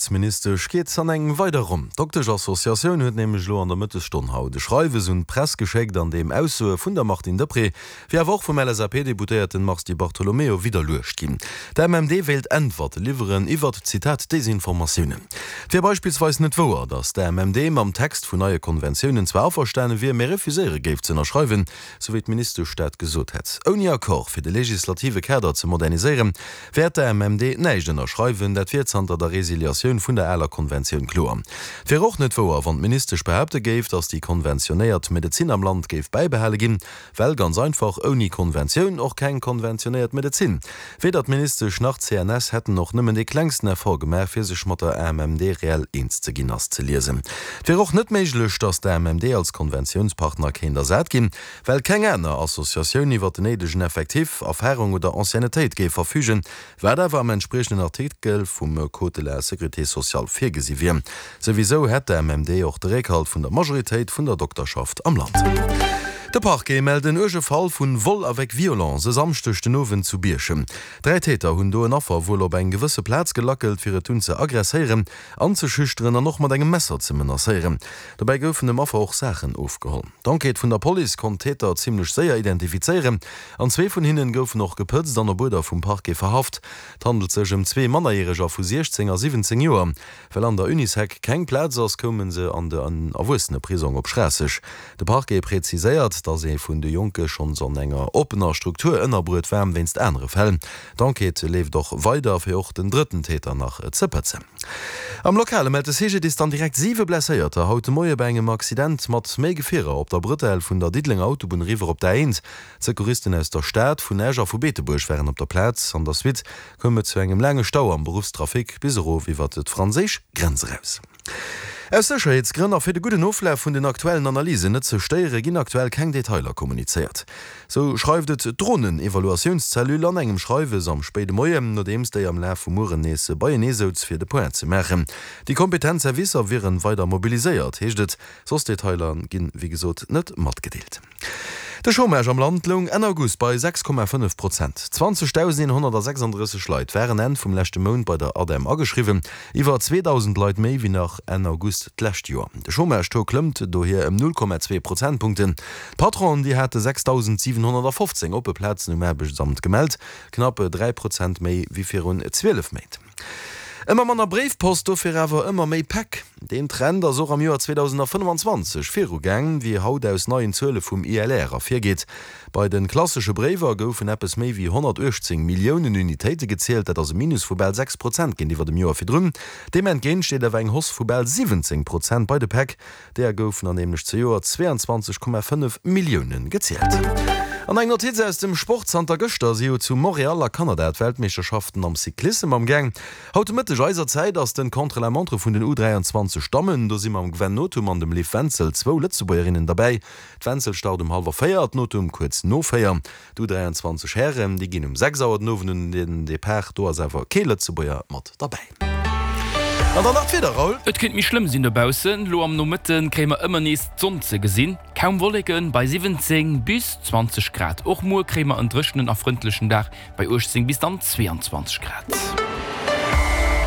Gesondheetsministesch geet an eng weider Ronn. D'Doktesch-Associatioun huet nämlech elo an der Mëttesstonn haut e Schreiwes un d'Press geschéckt, an deem Aussoe vun der Martine Deprez, wéi awer och vum LSAP-Deputéierten Mars Di Bartolomeo widderluecht ginn. D'AMMD wéilt Äntwerte liwweren iwwert, Zitat, Desinformatiounen. Et wier beispillsweis net wouer, datt d'AMMD mam Text vun neie Konventiounen zwar averstane wier, mä refuséiere géif ze ënnerschreiwen, sou wéi d'Ministesch dat gesot hätt. Ouni Accord fir de legislative Kader ze moderniséieren, wäert d'AMMD näischt ënnerschreiwen. Dat wier zanter der Resiliatioun vun der aler Konventioun kloer. Et wier och net wouer, wann d'Ministesch behaapte géif, datt déi konventionéiert Medezin am Land géif bäibehale ginn, well ganz einfach ouni Konventioun och keng konventionéiert Medezin. Weder d'Ministesch nach d'CNS hätten och nëmmen dee klengsten Effort gemaach, fir sech mat der AMMD reell eens ze ginn, ass ze liesen. Et wier och net méiglech, datt d'AMMD als Konventiounspartner kéint ersat ginn, well keng aner Associatioun iwwer den néidegen Effectif, Erfarung oder Anciennetéit géif verfügen, wat awer am entspriechenden Artikel vum Code de la sécurité sociale virgesi wier. Souwisou hätt d'AMMD och de Réckhalt vun der Majoritéit vun der Dokterschaft am Land. De Parquet mellt en uerge Fall vun Vol avec violence e Samschdeg den Owend zu Bierchem. 3 Täter hunn do en Affer wuel op eng gewësse Plaz gelackelt, fir et dunn ze aggresséieren, anzeschüchteren an och mat engem Messer ze menacéieren. Dobäi goufen dem Affer och Saachen ofgeholl. D'Enquête vun der Police konnt d'Täter zimmlech séier identifizéieren an zwee vun hinnen goufen och gepëtzt an op Uerder vum Parquet verhaft. Et handelt sech ëm zwee Mannerjäreger vu 16 a 17 Joer. Well an der Unisec keng Plaz ass, koume se an de Erwuesseneprisong op Schraasseg. De Parquet präziséiert, datt ee vun de Jonke schonns an enger oppener Struktur ënnerbruet war wéinst anere Fäll. D'Enquête leeft och weider, fir och den drëtten Täter nach ze pëtzen. Am Lokale mellt de CGDIS dann direkt 7 Blesséierter haut de Moie bei engem Accident mat méi Gefierer op der Brëtell vun der Diddelenger Autobunn eriwwer op d'A1. D'Secouristen aus der Stad, vun Esch a vu Beetebuerg waren op der Plaz. An der Suite koum et zu engem laange Stau am Beruffstrafic bis erof iwwer d'franséisch Grenz eraus. Aus Sécherheetsgrënn a fir de gudden Oflaf vun den aktuellen Analysen net ze stéiere ginn aktuell keng Detailer kommunizéiert. Sou schreift et d'Dronen-Evaluatiounscellule an engem Schreiwes am spéide Moien, nodeems déi am Laf vum Mueren nees beienee souz fir de Point ze maachen. Déi kompetent Servicer wieren weider mobiliséiert, heescht et. Soss Detailer ginn, wéi gesot, net matgedeelt. De Chômage am Land loung Enn August bei 6,5 Prozent. 20.136 Leit waren Enn vum leschte Mount bei der ADEM ageschriwwen, iwwer 2.000 Leit méi wéi nach Enn August d'lescht Joer. De Chômage-Taux klëmmt dohier ëm 0,2 Prozentpunkten. D'Patronen, déi hate 6.715 oppe Plazen um Aarbechtsamt gemellt, knapp 3 Prozent méi wéi virun 12 Méint. Ëmmer manner Bréifpost, dofir awer ëmmer méi Päck. Deen Trend ass och am Joer 2025 virugaang, wéi haut aus neien Zuele vum ILR ervirgeet. Bei de klassesche Bréiwer goufen eppes méi wéi 118 Milliounen Unitéite gezielt, dat ass e Minus vu bal 6 Prozent géintiwwer dem Joer virdrun. Deem entgéint steet awer eng Hausse vu bal 17 Prozent bei de Päck. Deeër goufen der nämlech zejoert 22,5 Millioune gezielt. An eng Notiz aus dem Sport, Zanter gëschter si jo zu Montréal a Kanada d'Weltmeeschterschaften am Cyclissem am Gaang. Haut de Mëtteg eiser Zäit ass den Contre-la-montre vun den U23 Dammen. Do si mam Gwen Nothum an dem Liv Wenzel zwou Lëtzebuergerinnen derbäi. D'Wenzel start um hallwer 4, d'Nothum kuerz no 4. D'U23 Hären, déi ginn um 6 Auer den Owend un den Depart. Do ass awer kee Lëtzebuerger mat derbäi. An dann nach d'Wieder, Raoul. Et kéint méi schlëmm sinn dobaussen. Lo am Nomëtte kréie mer ëmmer nees d'Sonn ze gesinn, kaum Wolleken bei 17 bis 20 Grad. Och muer kréie mer en dréchenen a frëndlechen Dag bei 18 bis dann 22 Grad.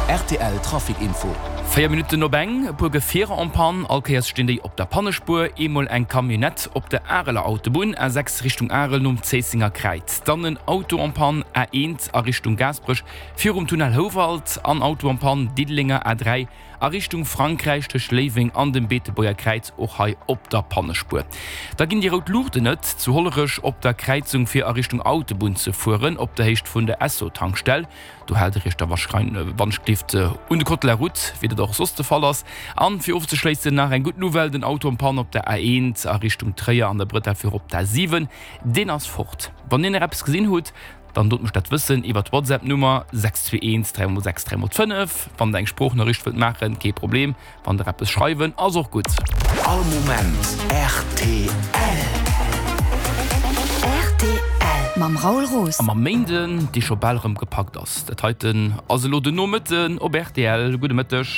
Rtl Trafic Info. 4 Minutten op eng, e puer Gefierer en panne, all Kéiers stinn déi op der Pannespuer. Eemol eng Camionnette op der Areler Autobunn, A6 Richtung Arel nom Zéissenger Kräiz. Dann en Auto en panne, A1 a Richtung Gaasperech virum Tunnel Houwald an Auto en panne, Diddelenger A3 A Richtung Frankräich tëscht Léiweng an dem Beetebuerger Kräiz, och hei op der Pannespuer. Da ginn déi rout Luuchten net zu Hollerech op der Kräizung fir a Richtung Autobunn ze fueren, op der Héicht vun der Esso-Tankstell. Do haalt der iech da wanschgelift un de Code de la route, wéi dat och soss de Fall ass. An fir ofzeschléissen nach eng gutt Nouvelle, Den Auto en panne op der A1 a Richtung Tréier an der Bretelle fir op d'A7, deen ass fort. Wann dir nach eppes gesinn hutt, Dann dot mech dat wëssen iwwert d'Whatsapp Nummer 621 3 x 6 3 x 5. Wann der eng Sproochnoriicht wëllt maachen, kee Problem. Wann der eppes schreiwen, ass och gutt. All Moment rtl. Rtl mam Raoul Roos. A mam Méinden, dee scho bal erëm gepackt ass. Dat heiten ass elo den Nomëtten op rtl. Gudde Mëtteg.